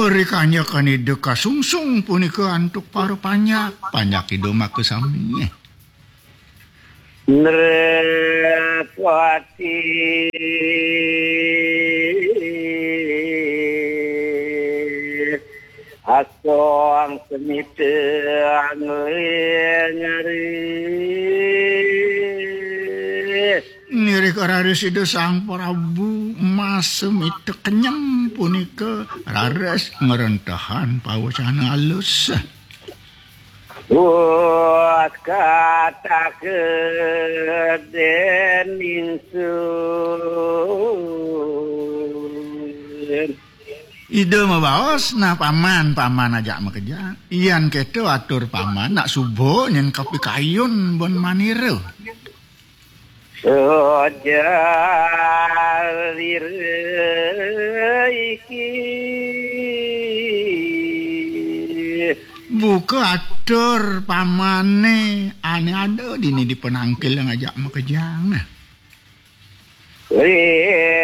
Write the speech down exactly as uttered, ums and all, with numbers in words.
Ri kanyekan Ida kasungsung punika antuk para panjak, panjak Ida makasami. Nrepati asong semita anglingari. Ngiring raris Ida Sang Prabu Mas Semita Kenyang punika raris ngrentehang pawecana alus. Wah, kataka dening sun. Ida mabaos, "Nah, paman, paman ajak makejang. Yan kéto atur paman, nak suba nyén kapikayun ban manira." Sajarira iki. Buka atur pamané ané ada dini di penangkil yang ajak makejang. Iya.